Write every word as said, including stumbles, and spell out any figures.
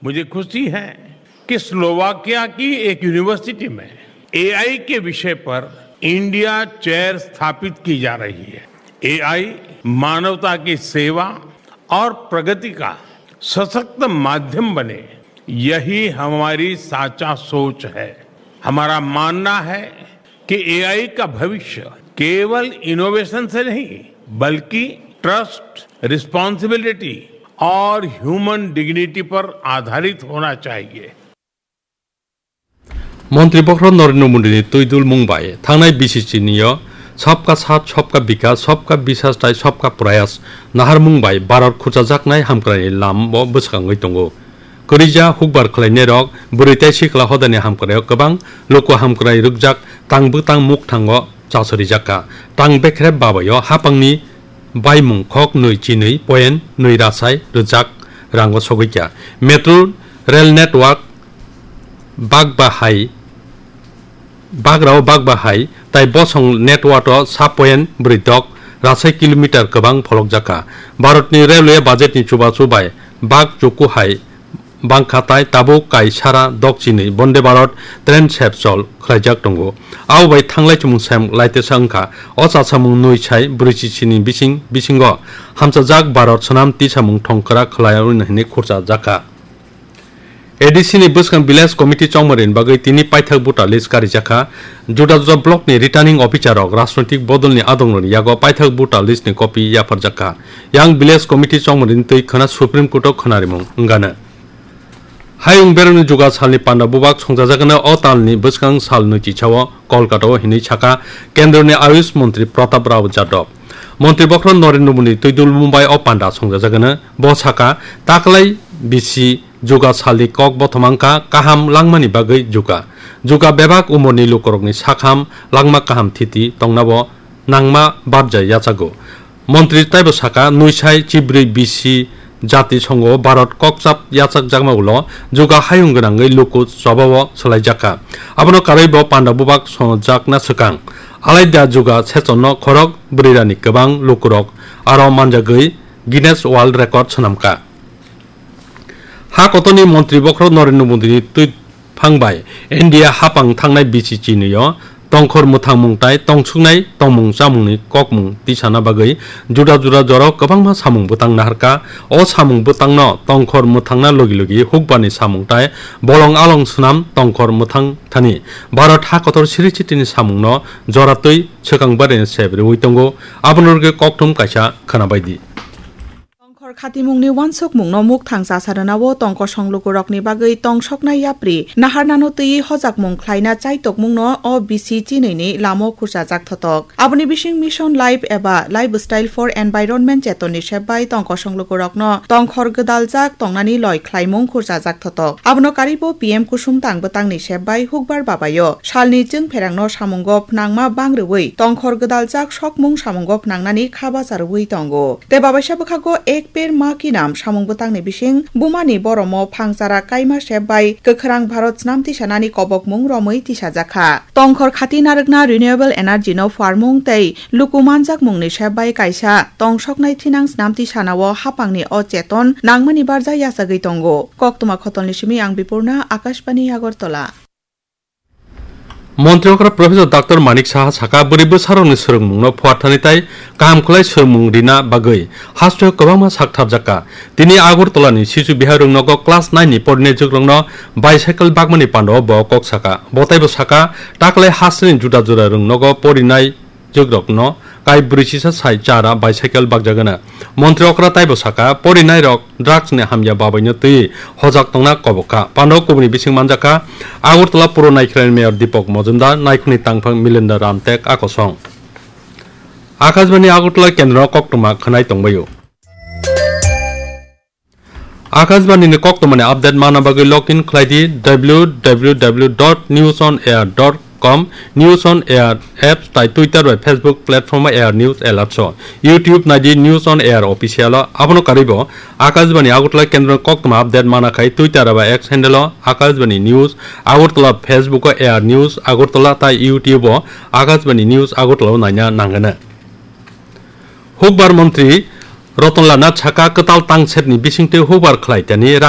मुझे खुशी है कि स्लोवाकिया की एक यूनिवर्सिटी में एआई के विषय पर इंडिया चेयर स्थापित की जा रही है। एआई मानवता की सेवा और प्रगति का सशक्त माध्यम बने, यही हमारी साचा सोच है। हमारा मानना है कि एआई का भविष्य केवल इनोवेशन से नहीं, बल्कि ट्रस्ट, रिस्पॉन्सिबिलिटी और ह्यूमन डिग्निटी पर आधारित होना चाहिए। Montri bokhorok Narendra Modi ni twi dul mung bai thangnai B C C ni o Sabka Saath, Sabka Vikas, Sabka Vishwas tei Sabka Prayas naharmung bai Bharat khurchajaknai hamkrai ni lam o bwswk wngwi tongo. Kwrwija hukbar khlainairok bwrwi tei sikla hodani hamkrai o kwbang luku hamkrai rwkjak tang bwtang mukthango chasorijak kha. Tang bekrep babai o hapangni baimung khok nwi chinwi point nwi rasai rwjak rango sogwi kha. Metro rail network bak bahai, bagrao bak bahai tai bosong network o sa point bwrwi dok rasai kilometer kwbang pholokjak kha. Bharatni railway budgetni chubachu bai bak chuku hai bangkha tai tabuk kai sara dok chinwi Bonde Bharat train sep chol khlaijak tongo. Abo bai thanglai chumung sem laitesa wngkha. O chasamung nwi sai bwrwi chichini bising bisingo hamchajak Bharat swnam tisamung thongkwrak khlai hwnwi khurchajak kha. A D C ni bwskang village committee chongmani bagwi tini paithak voter list karijakha. Juda juda block ni returning officer rok rajnoitik bodol ni adong rok ni yago paithak voter list ni copy yapharjakha. Yang village committee chongmani twi khwna Supreme Court o khwnarimung wngano. Hayung berokni juga salni panda bubak songchajakno o talni bwskang sal nwi chisao Kolkata o hinwi sakha Kendroni Ayush Montri Pratap Rao Jadhav. Montri bokhorok Narendra Modi twi dul Mumbai o panda songchajakno bo sakha taklai bisi juga salni kok bothomangkha kaham langmani bagwi juga. Juga bebak umorni lukurokni sakham langma kaham thiti tongnabo nangma barja yachago. Montri taibo sakha, nwi sai chibrwi bisi jati songo Bharat kokchap yachakjakma ulo juga hayung gwnangwi luku chobao swlaijakha. Abono karwi bo panda bubak songjakna swkang. Alaida juga sechonno khorok bwrwirani kwbang lukurok aro manjagwi Guinness World Record swnamkha. Ha kotorni montri bokhorok Narendra Modi ni twi phang bai India hapang thangnai B C C ni o tongkhor mwthangmung tai tongsuknai tongmung chamungni kokmung tisana bagwi juda juda jorao kwbangma samung bwtang naharkha. O samung bwtangno tongkhor mwthangna logi logi hukbarni samung tai bolong along swnam tongkhor mwthang thani Bharat ha kotor siri chitini samungno jora twi swkang barino sep rwui tongo. Abono rwgwi kokthum kaisa khwna bai di. Tongkhor khatimungni uansukmungno mukthang chasa rwnao tongkosong lukurokni bagwi tongsoknai yapri naharnano twiwi hojakmung khlaina chaitokmungno o bisi chinwini lamo khurchajak thotok. Aboni bising Mission Life eba Lifestyle for Environment chetonni sep bai tongkosong lukurokno tongkhor gwdaljak tongnani loi khlaimung khurchajak thotok. Abono karibo P M Kusum tang bwtangni sep bai hukbar babaio salni chwngpherangno samungo phnangma bang rwui tongkhor gwdaljak sokmung samungo phnangnani kha bacha rwui tongo. Tei babaisa bwkhago Ek Ped Maa Ki Naam samung bwtangni bising bumani boromo phangchara kaima sep bai kwkhwrang Bharat snam tisanani kobokmung romwi tisajakha. Tongkhor khati narwkna renewable energy no phuarmung tei luku manjakmungni sep bai kaisa tongsoknai thinang snam tisanao hapangni o cheton nangmani barja yachagwi tongo. Koktwma khotolni simi ang Bipurna, Akashbani Agartala. Montri okra Professor Doctor Manik Saha saka, bwrwi bwsarokni swrwngmungno phuarthani tai kaham khlai swrwngmung rina bagwi hasteo kwbangma sak tharjakha. Tini Agartala ni Sisu Bihar rwngnogo class nine ni porinai jugrokno bicycle bakmani pandao bo kok saka. Bo taibo saka, taklai hasteni juda juda rwngnogo porinai jugrokno kai bwrwi chisa sai chara bicycle bakjagana. Montri okra taibo saka, porinairok drugs ni hamya babaino twi hojak tongna kobok kha. Pando kubuni bising manjakha Agartala Puro Naikhilani Mayor Deepak Majumdar, Naikhungni tangphang Milindo Ramtek akosong. Akashbani Agartala kendro koktwma khwnai tongbaio. Akashbani ni koktwmani update mana bagwi log in khlai di W W W dot news on air dot com, News on Air apps tai Twitter bai Facebook platform o Air News Alerts o. YouTube nai di News on Air Official o. Abono karwi bo Akashbani Agartala kendro koktwma update mana khai Twitter bai X handle o Akashbani News Agartala, Facebook o Air News Agartala tai YouTube o Akashbani News Agartala o naina nangana. Hukbar montri Rotonlal Nath saka kwtal tangsepni bisingtwi hukbar khlai tani